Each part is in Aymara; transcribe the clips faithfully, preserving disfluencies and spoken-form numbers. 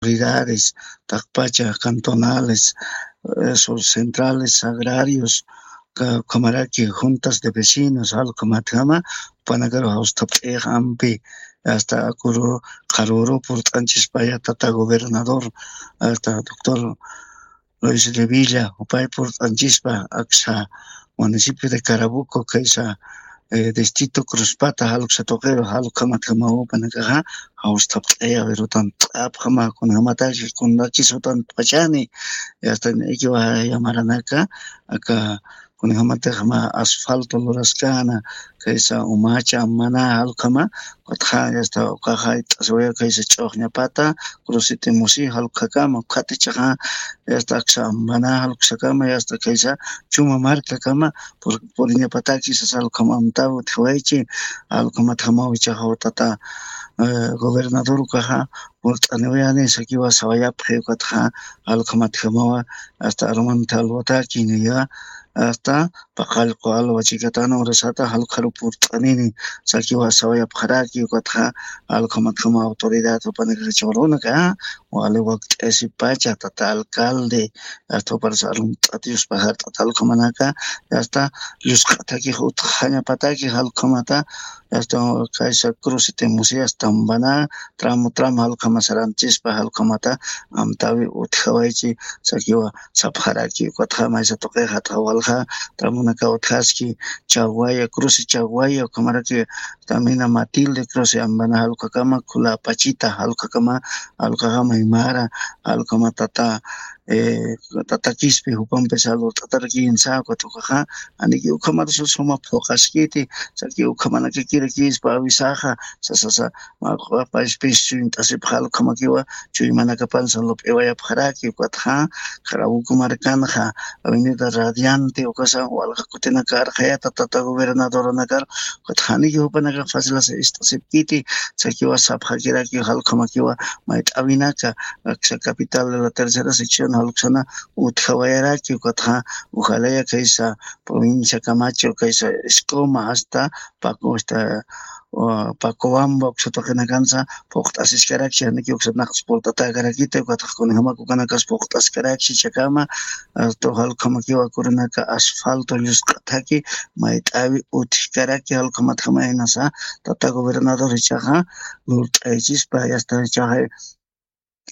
autoridades, taqpacha cantonales, eh, sus centrales agrarios, ka-, ukhamaraki juntas de vecinos, jalukhamatjama, jupanakaru jawstapt'ix ampi, hasta akuru, qharuru purt'anchispaya tata gobernador, hasta doctor Luis Revilla, jupay purt'anchispa, aksa municipio de Carabuco, kaysa, eh, distrito Cruzpata, jaluksa tuqiru, jalukhamatjama jupanakaxa, jawstapt'aya, pero tan t'apjama, kunjamataki, kunrakis jutan pachani, y hasta ikiwa yamaranaka, aka, kunjamatjama asfalto luraskana, kaysa umacha, amana, jalukhama, ukatxa, y hasta ukaxa, it'asiwaya, kaysa ch'uxñapata, crucete musi, jalukakama, ukhatichaxa, y hasta aksa, amana, jaluksakama, y hasta kaysa, chuma markakama, pur-, puriñapataki, sasa jalukhama, amtaw, utjiwaychi, jalukhamatjama, wichaxa, tata, eh, gobernador ukaxa, purt'aniwayani, sakiwa sawayapxi ukatxa, jalukhamatjamawa, hasta armanta alwataki, niya, hasta paqallqu alwa chikatana urasata, jalukharu purt'anini, sakiwa sawayapxaraki, ukatxa, jalukhamatjama autoridad, jupanakaxa churunaka, wali wakt'asipacha, tata alcalde, hasta juparsa arumt'at, Diospa jart'at, jalukhamanaka, hasta llusq'ataki, utjañapataki, jalukhamata, hasta kaysa crucete musi, hasta ambana, tramo, tramo, jalukhama saranchispa, jalukhamata, amtawi utjawaychi, sakiwa sapxaraki, ukatxa maysa tuqixa, taqi walja, tramonaka utjaski, chawaya, cruce chawaya, ukhamaraki, tamina Matilde, cruce ambana, jalukakama, khula pachita, jalukakama, jalukakama imara, jalukama tata, eh, tata Quispe, jupampisa lurt'atarakinsa, ukat ukaxa, aniki ukhamata suma phuqaskiti, saki ukhamanakakirakispa awisaxa, sasasa, maq'apaspis chuymt'asipxal ukhamakiwa, chuymanakapansa lup'iwayapxaraki, ukatxa, Carabuco markanxa, avenida Radiante, ukasa, walja kutinakar, qhayata tata gobernadoranakar, ukatxa, aniki jupanaka fácil ist'asipkiti, sakiwa sapxakiraki, jalukhamakiwa, mayt'awinaka, aksa capital de la tercera sección, jaluksana, utjawayaraki, ukatxa, ujalaya kaysa, provincia Camacho, kaysa, Escoma, hasta, Paco, hasta, uh, Pacobamba, uksa tuqinakansa, puqt'asiskarakchi, aniki uksa naqs purt'atakarakita, ukatxa kunjamaku kanakas puqt'askarakchi, chakama, hasta, jalukhamakiwa kurinaka, asfalto, llusq'ataki, mayt'awi, utjkaraki, jalukhamatjama inasa, tata gobernador ichaxa, lurt'aychispa, hasta ichaxa,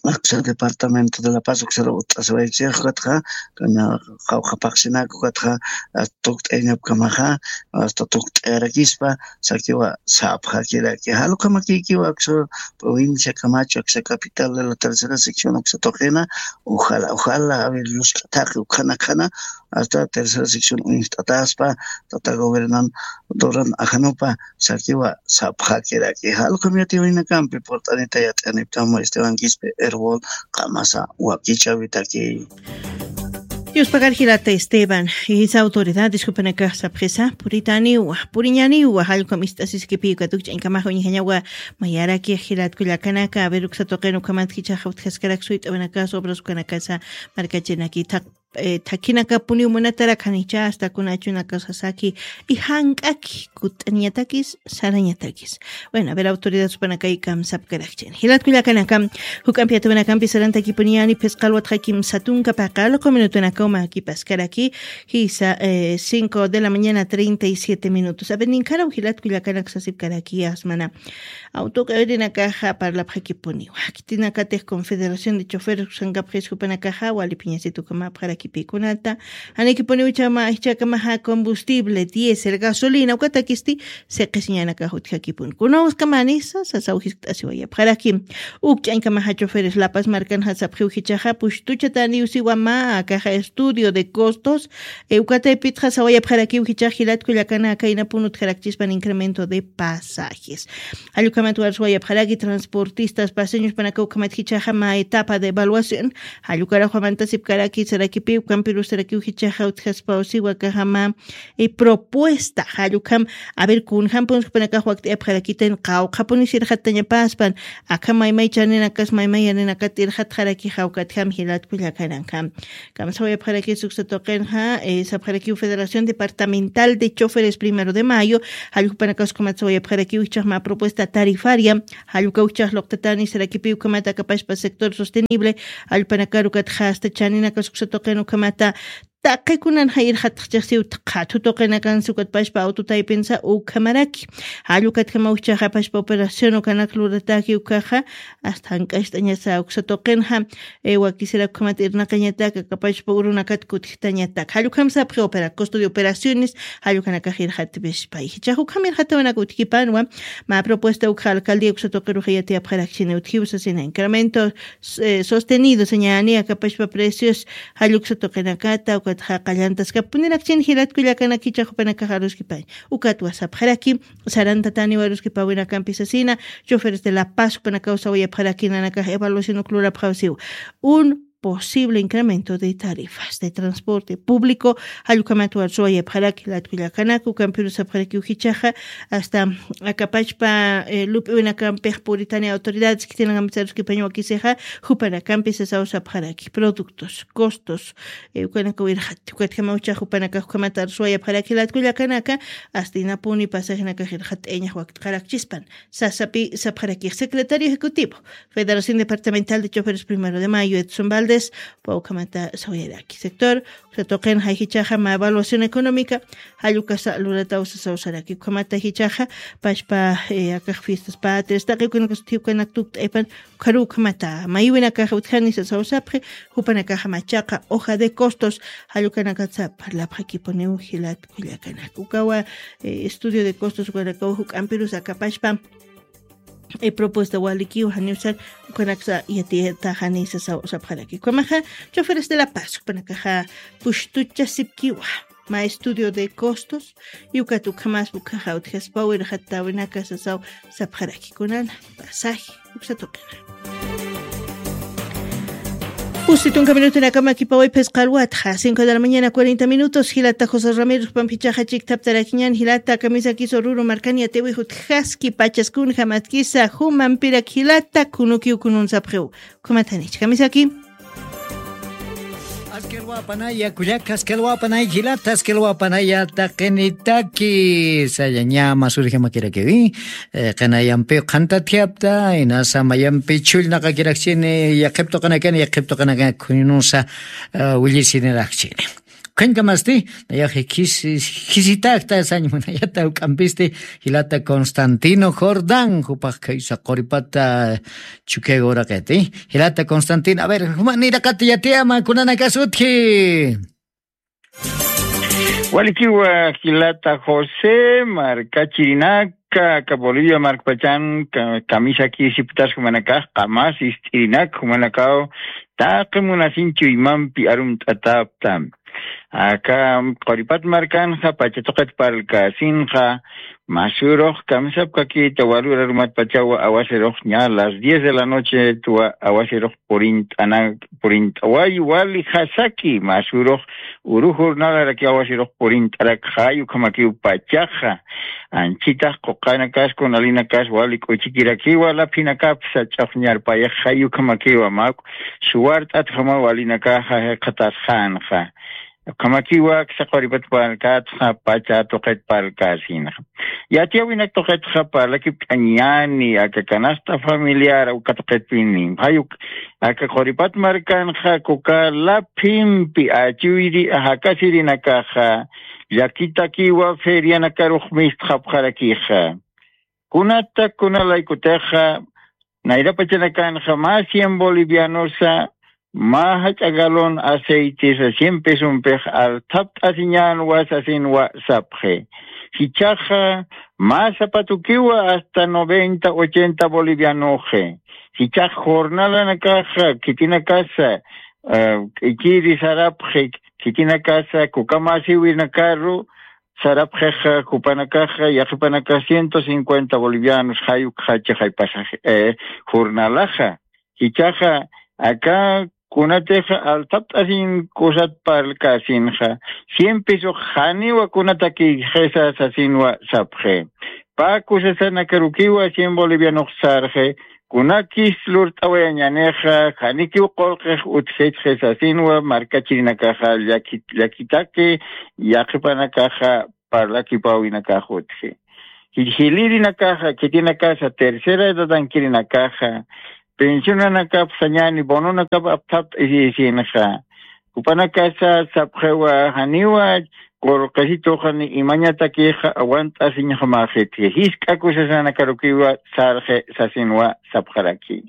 aksa departamento de La Paz, uksara ut'asawaychix, ukatxa, kana, qawqha paqsinaka, ukatxa, hasta tukt'ayañapkamaxa, hasta tukt'ayarakispa, sakiwa, sapxakiraki, jalukhamakikiwa, aksa, provincia Camacho, aksa capital de la tercera sección, uksa tuqina, ujala, ujala, a ver, llusq'ataki, ukhanakhana, hasta tercera sección uñjt'ataspa, tata gobernador ajanupa, sakiwa sapxakiraki. Jalukhamiyatiwaynakampi purt'anita yat'aniptama Esteban Quispe Erbol qamasa wakichawitaki. Yuspagar jilata Esteban, jisa autoridades jupanakax sapxisa, puritaniwa, puriñaniwa, jalkham ist'asiskipiw katukch'añkamax uñjañawa, mayaraki jilat kullakanaka, a ver, uksa tuqin ukhamat jichhaxa utjaskarak suyt'awinakas, obras ukanakasa, markachinaki thaq eh, thakhinakapuniw munatarak janicha hasta kunachunakasasaki, y jank'aki kut'aniñatakis, sarañatakis. Bueno, a ver, autoridad supanakay kamsapkarakchin. Jilat kullakanaka, juk'ampi atuwinakampi sarantakipuniyani phisqa alwat jakim satunka paqal, q'uminutunakaw makipaskaraki, jisa, eh, cinco de la mañana, treinta y siete minutos. A ver, ninkharaw jilat kullakanak sasipkaraki, asmana. Awtuq'irinakaxa parlapxakipuniwa. Khitinakatix Confederación de Choferes usankapxis jupanakaxa wali phiñasitu ukhamäpxarakipï kunata. Janikipuniw chama, jichhakamaxa combustible, diésel, gasolina, ukatakisti siqisiñanakax utjakipuni. Kunawskamanisa, sasaw jiskt'asiwayapxaraki. Uk ch'añkamaxa choferes La Paz markanxa sapxiw jichhaxa, pushtuchataniw siwa mä, akaxa estudio de costos, eh, ukataypitxa sawayapxarakiw jichhax jilat kullakanaka, inapun utjarakchispan incremento de pasajes. Jallukhamat warswayapxaraki transportistas paseños panaka ukhamat jichhaxa mä etapa de evaluación. Jallukaraxwamantasipkaraki saraki pi ukampirusarakiw jichaxa utjaspawsiwa kajama propuesta jallukham. A ver kunjampunis jupanakax wakt'ayapxarakitan qawqhapunis irxattañapaspan akham maymay chaninakas maymay yaninakat irxatxarakixa ukatjam jilatkullakanakam. Kamsawayapxarakis uksatuqinxa sapxarakiw federación departamental de choferes primero de mayo. Jallukpanakaskamatsawayapxarakiw ichhaxma propuesta tarifaria. Jallukawchhax luqtatani sarakipiw kamata kapashpa sector sostenible. Jallukpanakarukat jasta chaninakas uksatuqin ukamata taqikunanxa irxatxchixsiw qhatutuqinakansi ukatpashpa awtutaypinsa ukamaraki. Jallukatkamawchhaxa pashpa operación ukanak lurataki ukaxa asta jank'acht'añasa uksatuqinxa. Wakisirakukamat irnaqañataka kapachpa urunakat kutjtañataka jallukhamsapxi opera costo de operaciones. Jallukhanakax irxatpishpa ijichax ukham irxatawinak utjipanwa. Mä propuesta ukxa alcaldía uksatuqiruxa yatiyapxarakchini utjiw sasina incremento sostenido sañani akapachpa precios. Jalluksa tuqinakata ukatxa qallantaskapunirakchini jilatkullakanakichax jupanakax aruskipañ. Ukatwa sapxaraki sarantatani waruskipawinakampi sasina. Choferes de la paz jupanakaw sawayapxaraki nanakax evaluación uklurapxawsiw un posible incremento de tarifas de transporte público. Jallukhamat warsuwayapxaraki latkullakanaka ukampirus sapxarakiw jichaxa asta akapachpa lup'iwinakampix puritani autoridades khitinakampis aruskipañ wakisixa. Jupanakampis sasaw sapxaraki productos costos ukanakaw irxatti ukatjamawchhax jupanakax ukhamat arsuwayapxaraki latkullakanaka. Astinapuni pasajenakax irxatt'ayañax wakt'xarakchispan sasapi sapxarakix secretario ejecutivo federación departamental de choferes primero de mayo edson valdes. Pawkhamata sawayaraki sector uksatuqin jayjichaxa mä evaluación económica. Jallukasa lurataw sasaw saraki ukhamata jichaxa pashpa akax fiestas patrias taqi ukanakas utji ukanak tukt'aypan. Ukharu ukhamata maywinakaxa utjani sasaw sapxi. Jupanakaxa machaqa hoja de costos jallukanakatsa parlapxakipuniw jilatkullakanaka ukawa estudio de costos ukanakaw juk'ampirus akapashpa. Propuesta walikiw janiw sar ukanaksa yatiyataxani sasaw sapxaraki ukhamaxa. Choferes de la paz jupanakaxa pushtuchasipkiwa mä estudio de costos. Y ukat ukhamaspa ukhaxa utjaspaw irxattawinaka sasaw sapxaraki kunana pasaje uksa tuqina. Pusi tunka minutunakama kipawayphisqa alwatxa cinco de la mañana cuarenta minutos jilata josé ramiro pampichaxa chiktaptarakiñan jilata kamisakis ururu markani atiwix utjaski pachas kunja matkisa jumampirak jilata kunukiw kununsapxiw. Ukhamatanicha kamisaki. Askelwapanaya kullaka askelwapanaya jilata askelwapanaya taqinitaki sayaña masurjamakirakiri. Qinayampiw qhantatjapta inasa mayampi chullnaqakirakchini yaqhiptuqanakani yaqhiptuqanakani khuynusa willisinirakchini. Ukhañkamasti nayax jisitakta sañ munayata juk'ampisti jilata constantino jordán jupax khaysa quripata. Chukiaga uraqiti jilata constantino a ver jumaniraqata yatiyama kunanakas utji. Walikiwa jilata josé markachirinaka aka bolivia markpachan kamisakisiptas jumanakax qamas ist'irinak jumanakaw taqi munasin chuymampi arumt'atapta. Aka quripat markanxa pacha tuqit parlkasinxa masurux kamisapkakita walurarumatpachawa awasirux ña las diez de la noche tuwa awasirux purint'anak purint'away wali jasaki masurux uru jornalaraki awasirux purint'arak jay ukhamakiw pachaxa. Anchitax quqanakas kunalinakas wali k'uchikirakiwa laphinakapsa ch'aqñarpayax jay ukhamakiwa mak suwart'atjama walinakaxa jikxatasxanxa. Ukhamakiwa aksa quripat parlkatxa pacha tuqit parlkasinxa. Yatiyawinak tuqitxa parlakipt'añani aka canasta familiar uka tuqitpini jayuk aka quripat markanxa kuka laphimpi achuyri jakasirinakaxa llakitakiwa ferianakarux mistxapxarakixa. Kunata kunalaykutixa nayrapachanakanxa mä cien bolivianosa mä jach'a galón aceitesa cien pesompix althapt'asiñänwa sasinwa sapxi. Jichhaxa mä zapatukiwa hasta noventa ochenta bolivianoxi. Jichhax jornalanakaxa khitinakasa k'ikiri sarapxi khitinakasa kukamasiwinakaru sarapxixa jupanakaxa yaqhipanakax ciento cincuenta bolivianos jay ukxachi jay pasaje jornalaxa. Jichhaxa aka kunatixa althapt'asin kusat parlkasinxa, cien pesox janiwa kunatakïxisa sasinwa sapxi. Pä kusasanakarukiwa cien bolivianox sarxi, kunakis lurt'awayañänixa, janikiw qullqix utjitxi sasinwa markachirinakaxa llakit-, llakitaki yaqhipanakaxa parlakipäwinakax utji. Jilïrinakaxa, khitinakasa tercera edadankirinakaxa, pensionanakap sañäni bononakap apthapt'asisinxa, jupanakasa sapxiwa janiwa qullqisituxa ni imañatakixa awant'asiñjamäxitki. Jisk'a kusasanakarukiwa sarxi sasinwa sapxaraki.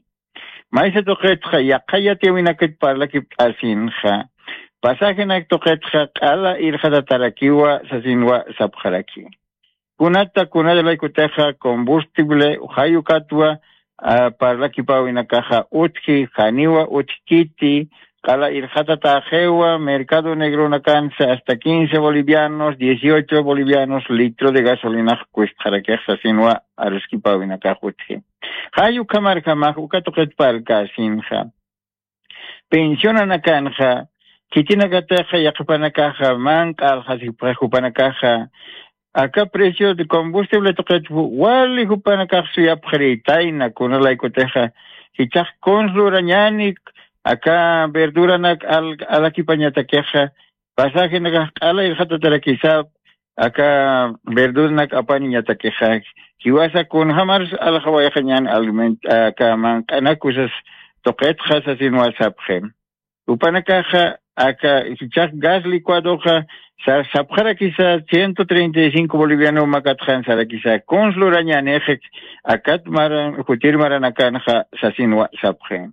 Maysa tuqitxa yaqha yatiyäwinakit parlakipt'asinxa, pasajenak tuqitxa q'ala irxatatarakiwa sasinwa sapxaraki. Kunata kunata laykutixa combustible jay ukatwa, ah, parlakipäwinakaxa utji, janiwa utjkiti, q'ala irxatatäxiwa, mercado negronakansa hasta quince bolivianos, dieciocho bolivianos litro de gasolinax kustxarakix sasinwa aruskipäwinakax utji. Jay ukhamarjamax uka tuqit parlkäsinxa, pensionanakanxa, khitinakatixa yaqhipanakaxa manq'a alxasipxi jupanakaxa, aka precio de combustible tuqit wali jupanakax suyapxirïtayna, kunalaykutixa jichhax kuns lurañäni aka verduranak al-, alakipañatakixa, pasajenakax q'ala irxatatarakisap, aka verduranak apaniñatakixa, jiwasa kunjämars alxawayxañän aliment-, aka manq'anak kusas tuqitxa sasinwa sapxi. Jupanakaxa aka jichhax gas licuadoxa sa-, sapxarakisa ciento treinta y cinco boliviano makatxan sarakisa, kuns lurañänixi akat mara-, jutir maranakanxa sasinwa sapxi.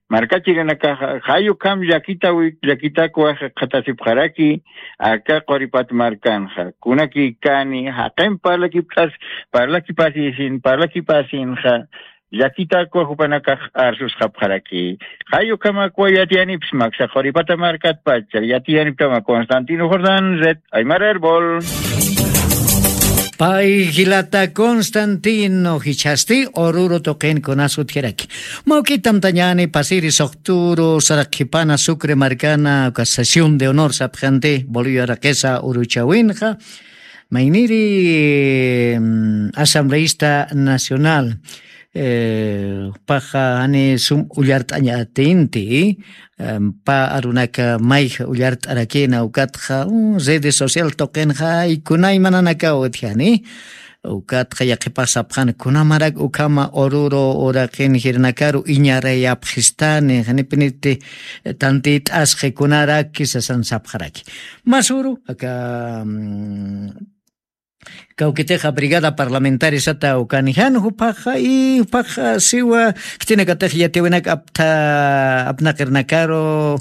Markachirinakaxa jay ukham llakitawi-, llakitakwa jikxatasipxaraki aka Quripat markanxa. Kunakïkani jaqin parlakipt'as-, parlakipasisin, parlakipasinxa, llakitakwa jupanakax arsusxapxaraki. Jay ukhamakwa yatiyanipxsma aksa Quripata markatpacha, yatiyanipxtama Constantino Jordán, Red Aymara Erbol. Pay jilata Constantino jichhasti Oruro tuqin kunas utjaraki. Mawk'it amtañäni pasiri suxturu saraqhipana Sucre markana uka sesión de honor sapxanti Bolivia raqisa uruchäwinxa. Mayniri, mm, asambleísta nacional, eh, jupaxa jani sum ullart'añatinti, em, pä arunaka mayja ullart'arakïna ukatxa, mm, redes social tuqinxa, y kunaymananakaw utjani, ukatxa yaqhipax sapxani, kunamarak ukhama Oruro uraqin jirinakaru iñarayapxistani, janipiniti tantït'asxi kunaraki sasan sapxaraki. Masuru, aka, mm, kawkitixa brigada parlamentaria sata ukani jan jupaxa, y jupaxa siwa khitinakatix yatiyawinak aptha, apnaqirnakaru,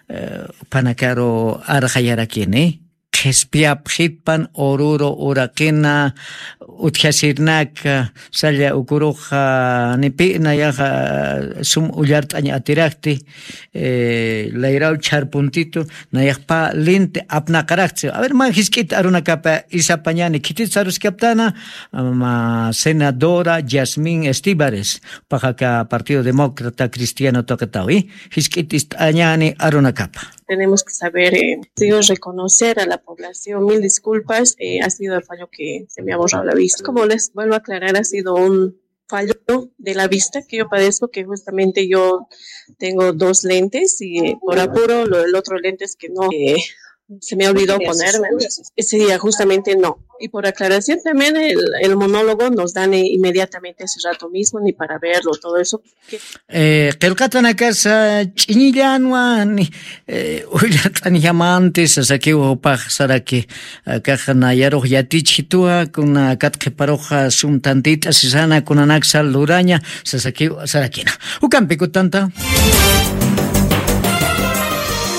eh, jupanakaru arxayarakini. Qhispiyapxitpan Oruro uraqina utjasirnaka, salla ukuruxa, ni pï nayaxa sum ullart'añ atirakti, eh, layraw chharpuntitu, nayax pä linti apnaqarakti. A ver, mä jisk'it arunakapa isapañani, khitit saruskaptana, mä senadora Yasmin Estíbares, paxaka Partido Demócrata Cristiano tuqitawi, jisk'it ist'añani arunakapa. Tenemos que saber, eh, digo, reconocer a la población. Mil disculpas, eh, ha sido el fallo que se me ha borrado la vista. Como les vuelvo a aclarar, ha sido un fallo de la vista que yo padezco, que justamente yo tengo dos lentes y, eh, por apuro, lo, el otro lente es que no, eh, se me olvidó ponerme. Ese día justamente no. Y por aclaración también el, el monólogo nos dan, eh, inmediatamente hace rato mismo, ni para verlo, todo eso. Eh, qillqatanakasa ch'iñillanwa, ni, eh, ullart'añjamanti sasakiw jupax saraki, akax nayarux yatichituwa, kuna kat qhiparuxa sum tantït'asisana kunanaksa luraña sasakiw sarakina. Ukampi kutanta.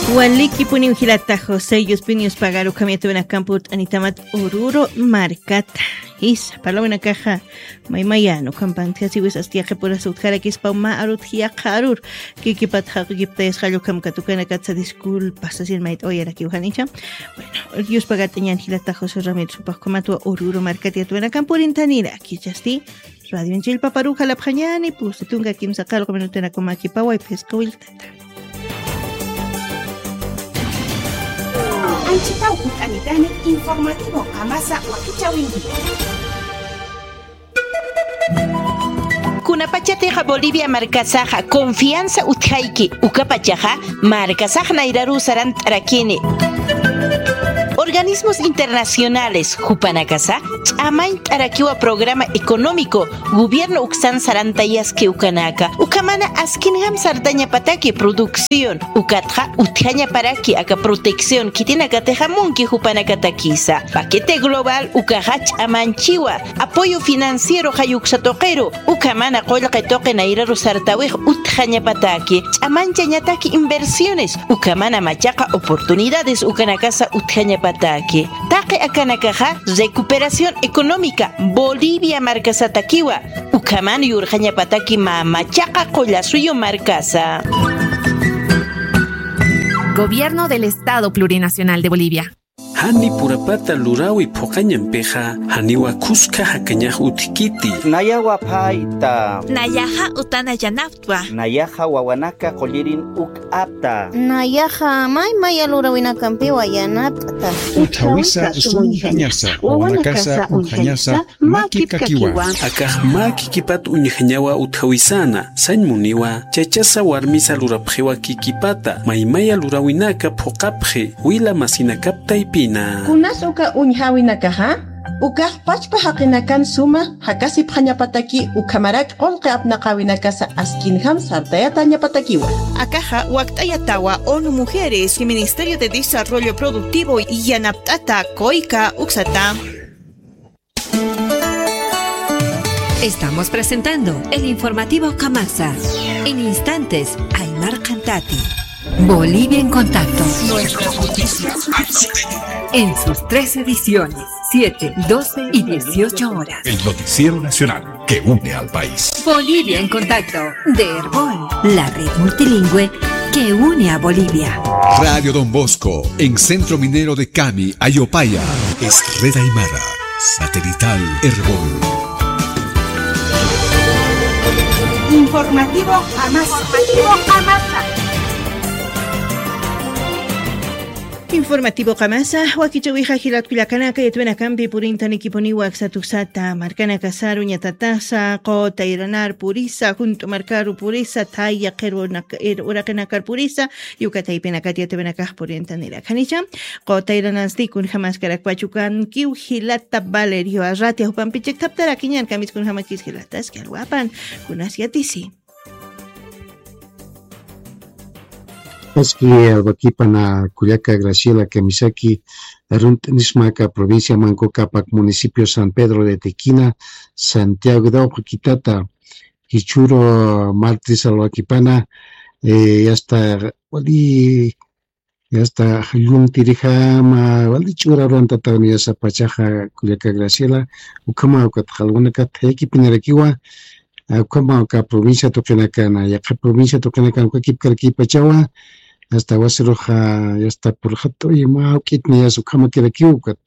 Walikipuniw jilata José Yuspinius Pagaru, ukham yatiwinakampurt'anitamat Oruro markata. Jisa, parlawinakaxa maymayan ukham panthasiwis asti yaqhipurasa utjarakispa mä arut yaqha arur. Kikipata jaqikiptayasxalla ukham katukanakatsa disculpas sasin mayt'awayarakiw janicha. Bueno, yuspagat'añan jilata José Ramírez jupax ukhamatwa Oruro markat yatiwinakampurinthaniraki. Jichhasti radionchin paparuw jalapxañani pusi tunka kimsa qallqu minutanakumakipaway phisqa willtata. Anchitaw jut'anitani informativo qamasa wakichäwinki. Kunapachatixa Bolivia markasaxa confianza utjayki, ukapachaxa markasax nayraruw sarant'arakini. Organismos internacionales jupanakasa ch'amañt'arakiwa programa económico gobierno uksan sarantayaski ukanaka, ukhamana askinjam sartañapataki producción, ukatxa utjañaparaki aka protección khitinakatixa munki jupanakatakisa. Paquete global ukaxa ch'amañchiwa, apoyo financiero jayuksa tuqiru, ukhamana qullqi tuqi nayraru sartawix utjañapataki, ch'amañchañataki inversiones, ukhamana machaqa oportunidades ukanakasa utjañapataki. Taqi akanakaxa recuperación económica Bolivia markasatakiwa, ukhaman yurxañapataki mä machaqa qullasuyu markasa. Gobierno del Estado Plurinacional de Bolivia. Jani purapata luräwi phuqañampixa, janiwa khuska jakañax utjkiti. Nayawa phayta. Nayaxa utana yanaptwa. Nayaxa wawanaka qullirin uk apta. Nayaxa may maya luräwinakampiwa yanapt'ta. Utjawisa uñjañasa, wawanakasa uñjañasa, mä kipkakiwa. Akax mä kikipat uñjañawa utjawisana, sañ muniwa, chachasa warmisa lurapxiwa kikipata, maymaya luräwinaka phuqapxi, wila masinakap taypina. Kunas uka uñjäwinakaxa, ukax pachpa jaqinakan suma jakasipxañapataki ukhamarak qullqi apnaqäwinakasa askinjam sartayatañapatakiwa. Akaxa wakt'ayatawa ONU Mujeres y Ministerio de Desarrollo Productivo yanapt'ata kuyka uksata. Estamos presentando el informativo Kamasa. En instantes, Aymar Cantati. Bolivia en contacto. Nuestras noticias. En sus tres ediciones, siete, doce y dieciocho horas. El noticiero nacional que une al país. Bolivia en contacto, de Erbol, la red multilingüe que une a Bolivia. Radio Don Bosco, en Centro Minero de Cami, Ayopaya. Es red aymara, satelital Erbol. Informativo Kamasa. Informativo Kamasa. Informativo Kamasa, wakichäwixa jilat kullakanaka, yatwinakampi purintanikipuniwa aksa tuksata, markanakasaru ñatatasa, quta iranar purisa, junt'u markaru purisa, thaya qhir uraq-, ir-, uraqinakar purisa, yuka taypinakat yatwinakax purintanirakiwa. Janicha, quta iranasti kunjamaskarakpachukankiw jilata Valerio Arratia, jupampi chikthaptarakiñan, kamis kunjamakis jilatas, kalwapan, kunas yatisi. Aski alwakipana kullaka Graciela kamisaki, arunt'nismaka provincia Manco Cápac, municipio San Pedro de Tequina, Santiago de Oqquitata, jichhüru martes alwakipana, eh, yasta wali, yasta jalluntirijama, wali ch'ura ruwantataw niyasa pachaxa kullaka Graciela, ukhama ukat jalwanakat thayakipinirakiwa, ukhama uka provincia tuqinakana, yaqha provincia tuqinakana uka kipkarakipachawa, hasta wasiruxa, hasta purxat'uy mä jawk'it niyasa ukhamakirakiw ukat,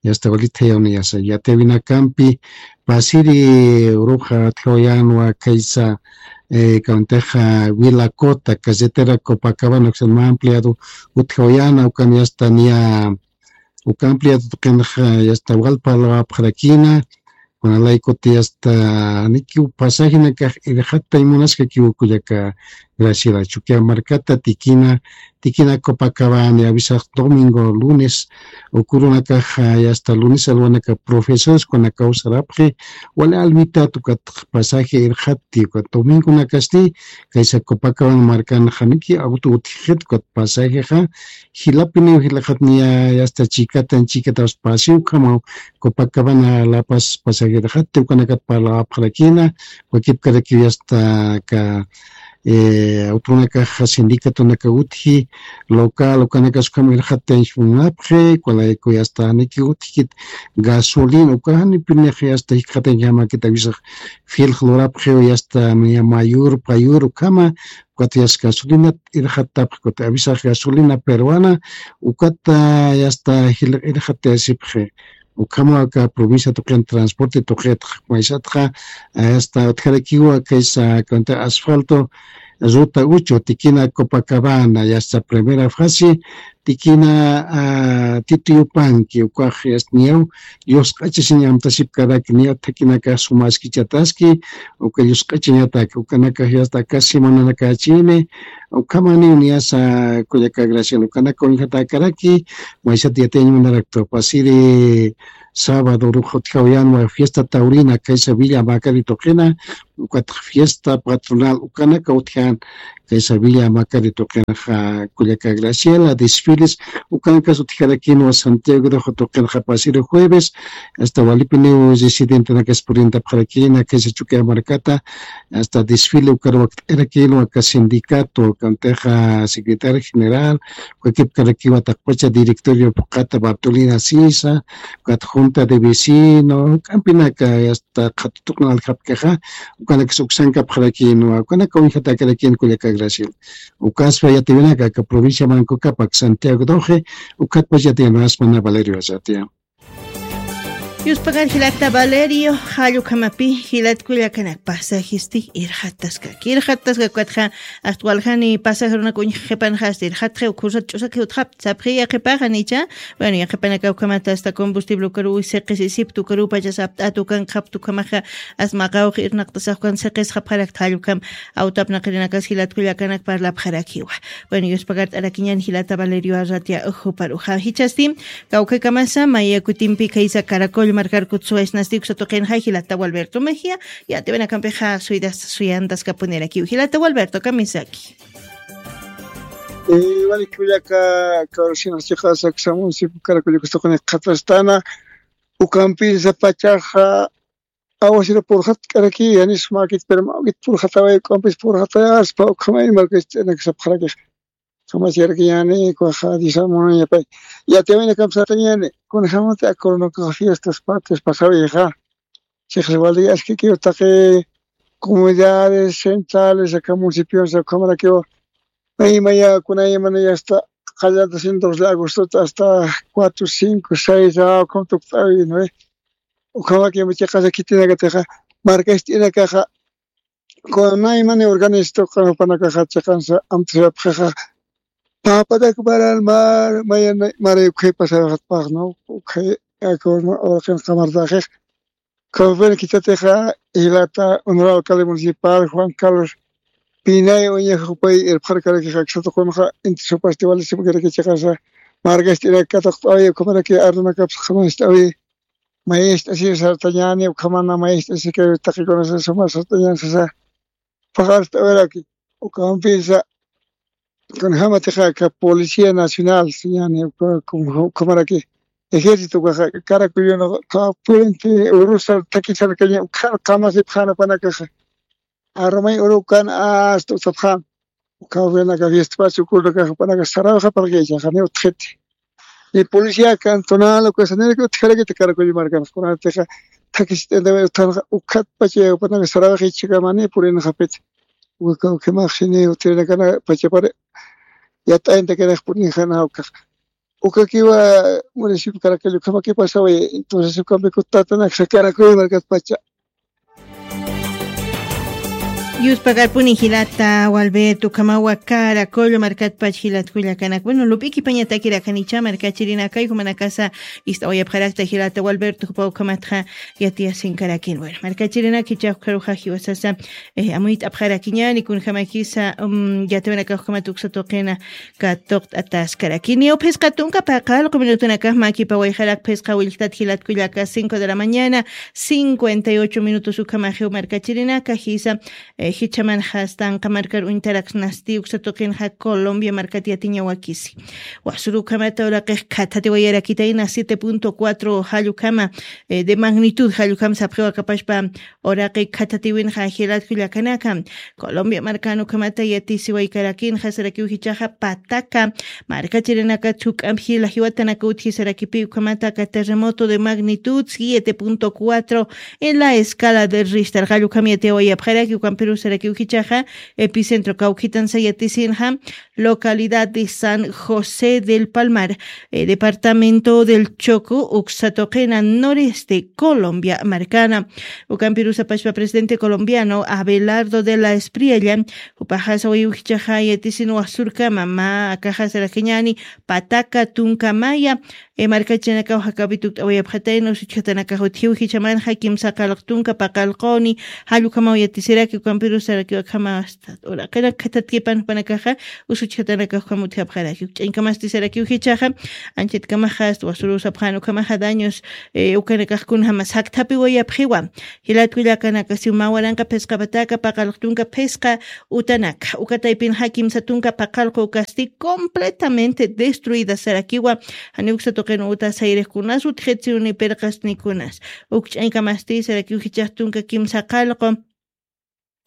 hasta wali thayaw niyasa. Yatiyawinakampi, pasiri uruxa utjawayänwa kaysa, eh, kawantix Vilacota, carretera Copacabana, uksan mä ampliado utjawayäna, ukan hasta niya, uka ampliado tuqinxa, hasta wal parlawapxarakïna, kunalaykutï hasta janikiw pasajinakax irxatay munaskakiw kullaka Graciela, Chukiyawu markata Tequina, Tequina Copacabana, awisax domingo, lunes, uka urunakax, hasta lunes alwanaka profesores kunakaw sarapxi, wali alwitat ukat pasaje irxatti, ukat domingonakasti, kaysa Copacabana markanxa janiki auto utjxit ukat pasajexa, jilapiniw jilxat niya, hasta chikatan chikataw paseo ukhamaw Copacabana La Paz pasaje irxatti, ukanakat parlawapxarakïna, wakipkarakiw hasta aka, eh, autonakax sindicatonaka utji, local, ukanakas ukham irxattañ munapxi, kunalaykutï hasta janiki utjkit gasolina, uka janipinix hasta jikxatañjamakit awisax filx lurapxiw hasta niya mayur, payur, ukhama, ukat yasta gasolinat irxattapxi, ukat awisax gasolina peruana, ukat, ah, yasta jil irxattayasipxi. Ukhama aka provincia tuqin transporte tuqitxa, maysatxa, ah, yasta utjarakiwa kaysa cuenta asfalto, Ruta uchu, tikina Copacabana, yasta primera fase, tikina, ah, Tituyupanki, ukax yasta niyaw, yusq'achasiñ amtasipkaraki, niyaw thakinakax sumaskichataski, uka yusq'achañataki, ukanakax yasta aka semananakachini, ukhamaniw niyasa kullaka Graciela, ukanaka uñjatakaraki, maysat yatiyañ munaraktu, pasiri sábado ruxa utjaw yanwa fiesta taurina, kaysa Villa Macari tuqina, ukatx fiesta patronal, ukanaka utjan, kaysa Villa Macari tuqinxa kullaka Graciela, desfiles, ukanakas utjarakinwa Santiago de Ojo tuqinxa pasiri jueves, hasta walipiniw residentenakas purintapxarakina, kaysa Chukiyaw markata, hasta desfile ukar wakt'irakinwa aka sindicato, kantixa secretario general, ukakipkarakiwa taqpacha directorio phuqhata Bartolina Sisa, ukat junta de vecino, k'ampinaka, hasta qhatutuqna aljapkaxa, ukanakas uksankapxarakinwa, ukanaka uñjatakarakin kullaka Graciela. Ukaspa yatiwinaka, aka provincia Manco Capac, Santiago Doce, ukatpach yatiwinaspa na Valerio Arratia. Yuspagar jilata Valerio, jallukamapi, jilat kullakanakpa, sajisti, irjataskaki, irjataskaki, ukatxa, ast waljani, pasajerunak uñjaqipanxa, ast irjatxi, ukhusat ch'usaki utjap, sapxi yaqipaxa nicha, bueno, yaqipanaka ukamata hasta combustible ukaru, siqis isiptu ukaru, pachas apt'atu kan, qhaptu kamaxa, as maqawqi irnaqtasax kan, siqis qhapxarakta jallukam, awtapnaqirinakas jilat kullakanak parlapxarakiwa. Bueno, yuspagart'arakiñan jilata Valerio Arratia ujuparuxa. Jichasti, kawkakamasa, maya kutimpi kaysa Caracol markarkut suwaysnasti uksa tuqinxa jilata Gualberto Mejía, yatiwinakampixa suydas suyantaskapunirakiw. Jilata Gualberto, kamisaki. Eh, walik kullaka, kawsina chiqasa, ksa municipio Caracol kustuqni qhatrastana, ukampinsa pachaxa, awasira purxatk'araki, yanis makit, pero mawkit purxataway, ukampis purxatayaspa, ukhamay markast'inakasapxarakix. Kamachirakiyani, kuxa, disamunañapay. Yatiwinakam satañani, kunjamati akornokax fiestas patrias pasawixa. Chiqas wali askikiw taqi comunidades centrales, aka municipios, ukhamarakiw. May, maya, kunay, mana, ya hasta, qallanta, dos de agosto, hasta cuatro, cinco, seis, ah, ukham tukt'awi, ¿no? Ukhamaki, chiqasa khitinakatixa, markast'inakaxa, kunay, mana, organizatoq, qanpanakaxa, chiqansa, amtasapxixa, papatak paran, mar, maya, mara, ukhay pasaxatpax, ¿no? Ukhay, akorno, uraqin qamartaxix, Kawpin khitatixa, jilata honorable alcalde municipal Juan Carlos Pinay uñajupay irpxarkarakixa, aksatuqunxa inti supasti walisipkarakichiqasa, markast'irak katuqt'awi, ukhamaraki arunakapsa qhamanst'awi, mayist'asi sartañani, ukhamana mayist'asi kay taqikunasa suma sartañan sasa, paqarst'awiraki, ukampisa, kunjamatixa aka Policía Nacional, señani, uka, uka, ukhamaraki ejército, ukaxa, Caracollo, uka puente urusa takisarkaña, ukan qamasipxan jupanakaxa. Arumay urukan hasta utsapxan. Uka jupanaka fiesta pacha ukunakaxa jupanaka sarawixa parlkaychaxa, ni utjiti. Ni policía cantonal, uka saniraki utjarakita Caracollo markan, kunatixa takisit'intawi utjanxa, ukat pacha jupanaka sarawixa ichhakamani purinxapiti. Uka kawkhimaxsini utirinakana pachapari yat'ayntakanax purinxana ukax. Ukakiwa municipio Caracollo ukhamaki pasawi, entonces ukampi kutatanak sakarakuy markat pacha. Yuspagarpuni jilata, Gualberto, ukhamawa Caracollo markat pach jilat kullakanak. Bueno, lup'iki pañatakirakancha, markachirinakay, jumanakasa, ist'awayapxarakta jilata, Gualberto, jupa ukhamatxa, yatiyasinkarakin. Bueno, markachirinak jichhax ukharuxa jiwasasa, eh, amuyt'apxarakiñani, kunjamakisa, um, yatiwanakax ukhamat uksa tuqina katuqt'ataskarakini. Phisqa tunka paqallqu minutunakax makipawayxarak phisqa willktat jilat kullaka, cinco de la mañana, cincuenta y ocho minutos ukhamaxiw markachirinaka, jisa, eh, jichhamanxa astanqa markar uñtaraksnasti uksa tuqinxa Colombia markat yatiñawakisi. Wasuru ukhamata uraqix khathatiwayarakitayna siete punto cuatro jallukama, eh, de magnitud jallukama sapxiwakapashpa uraqi khathatiwinxa jilat kullakanaka. Colombia markan ukhamata yatisiwaykarakinxa sarakiw jichhaxa Pataka markachirinaka chuk'amp jila jiwatanaka utji sarakipi ukhamata aka terremoto de magnitud siete punto cuatro en la escala de Richter. Jallukama yatiyawayapxaraki ukampiru Sarakiw jichhaxa, epicentro kawkhitansa yatisinxa, localidad de San José del Palmar, eh, departamento del Choco, uksa tuqina noreste, Colombia markana. Ukampirusa pachpa presidente colombiano Abelardo de la Espriella, jupaxa sawayiw jichhaxa yatisin wasurkama, mä akaxa sarakiñäni, pataca tunka maya, eh, markachanakaw jakapi tukt'awayapxatayna, usuchjatanakax utjiw jichhamanxa kimsa qallq tunka paqallquni, jall ukhamaw yatisiraki, ukampirus sarakiw akhama hasta uraqinak khatatkipan jupanakaxa, usuchjatanakax ukham utjapxaraki. Ukch'añkamasti sarakiw jichhaxa, anchatkamaxa hasta wasurusapxän ukhamaxa daños, eh, ukanakax kunjamas jakthapiwayapxiwa. Jilat kullakanaka, siw mä waranqa phisqa pataca paqallq tunka phisqa utanaka, uka taypinxa kimsa tunka paqallq ukasti completamente destruida sarakiwa. Janiw uksa tuqin uta sayrix kunas utjitsi ni pirqas ni kunas. Ukch'añkamasti sarakiw jichhax tunka kimsa qallqu.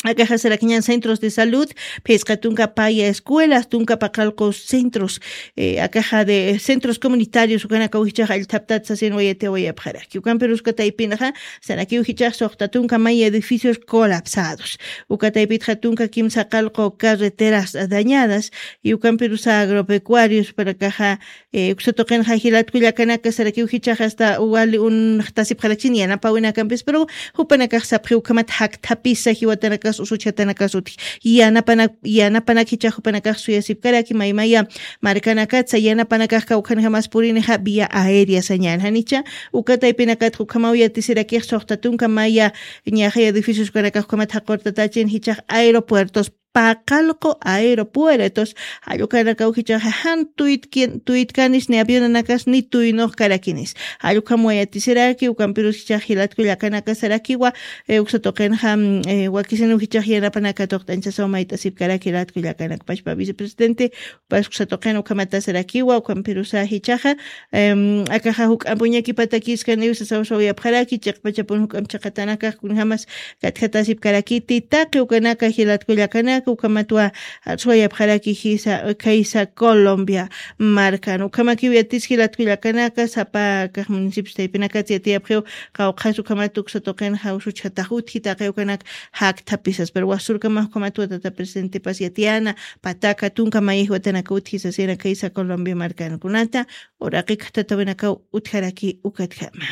Akaxa sarakiñän centros de salud, phisqa tunka paya escuelas, tunka paqallqu centros, eh, akaxa de centros comunitarios, ukanakaw jichhax allthaptat sasin wayatiwayapxaraki. Ukampirus uka taypinxa, sarakiw jichhax suxta tunka maya edificios colapsados. Uka taypitxa tunka kimsa qallqu carreteras dañadas, y ukampirusa agropecuarios, panakaxa, eh, uksa tuqinxa jilat kullakanaka sarakiw jichhax hasta wali unxtasipxarakchin yanapawinakampis, pero jupanakax sapxiw ukhamat jakthapisa jiwatanakas usuchjatanakas utji. Yanapana-, yanapanak jichhax jupanakax suyasipkaraki maymaya markanakatsa, yanapanakax kawkhanjamas purinixa vía aérea sañän. Janicha, uka taypinakatxa ukhamaw yatisirakix suxta tunka maya ñaxay edificios ukanakax ukhamat jaqurtatachin jichhax aeropuertos, paqallqu aeropuertos, jall ukanakaw jichhaxa jan tuytki-, tuytkanis ni avionanakas ni tuynux karakinis. Jall ukham wayatisiraki, ukampirus jichhax jilat kullakanaka sarakiwa, eh, uksa tuqinxa, mm, eh, wakisiniw jichhax yanapanaka tuqt'añchasaw mayt'asipkaraki jilat kullakanaka. Pachpa vicepresidente, pas uksa tuqin ukhamata sarakiwa, ukampirusa jichhaxa, em, akaxa juk'amp uñakipatakiskaniw sasawsawayapxaraki, chiqpachapun juk'amp chiqatanakax kunjamas katjatasipkarakiti, taqi ukanaka jilat kullakanaka, ukhamatwa, ah, suwayapxaraki jisa, kaysa Colombia markan. Ukhamakiw yatis jilat kullakanaka, sapa akax municipios taypinakats yatiyapxiw, qawqhas ukhamat uksa tuqinxa usuchjatax utji, taqi ukanak jakthapisas, pero wasurkamax ukhamatwa tata presidentepas yatiyäna, pataca tunka maya jiwatanaka utji sasina kaysa Colombia markan. Kunata, uraqi khatatawinakaw utjaraki ukatjama.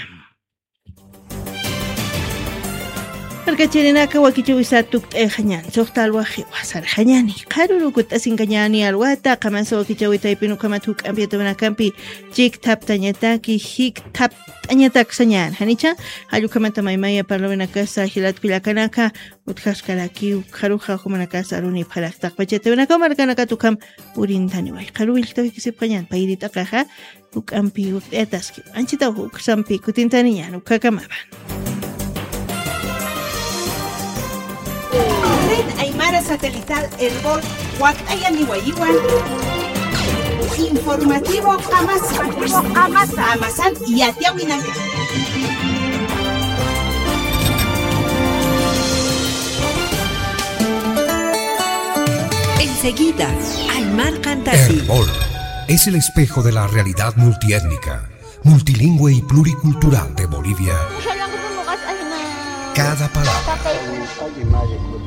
Markachirinaka, wakichäwisa tukt'ayxañän, suxta alwaxiwa sarxañäni, qharürukut'asinkañäni alwata, qamasa wakichäwi taypin ukhamat juk'amp yatawinakampi chikthaptañataki, jikthapt'añatak sañän. Janicha, jall ukhamata maymaya parlawinakasa jilat kullakanaka, utjaskarakiw, qharuxa jumanakasa arunipxarak taqpach yatawinakaw markanakat ukham purintaniwa. Qharu willktaw jikisipxañän, payri t'aqaxa, juk'ampi wakt'ayataski. Anchitaw juk'sampi kutintaniñän, ukhamapa. Red Aymara Satelital Erbol wakt'ayaniwayiwan. Informativo Amasa. Amasan yatiyawinaka. Enseguida, Aymar Cantati. Erbol es el espejo de la realidad multiétnica, multilingüe y pluricultural de Bolivia. Cada palabra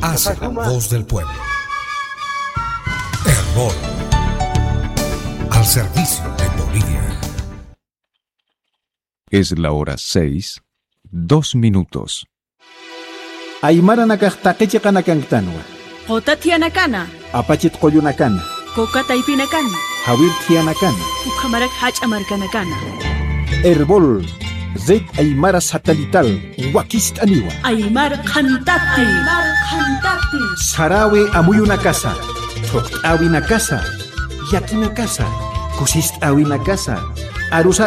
hace la voz del pueblo. Erbol, al servicio de Bolivia. Es la hora seis, dos minutos. Aymaranakax taqi chiqanakanktänwa. Quta thiyanakanwa. Apachit qullunakana. Kuka taypinakana. Jawir thiyanakana. Ukhamarak jach'a markanakana. Erbol, Red Aymara Satelital, wakist'aniwa. Aymar Qhantati. Aymar Qhantati. Sarawi amuyunakasa, thuqt'äwinakasa, yakinakasa, kusist'äwinakasa, arusat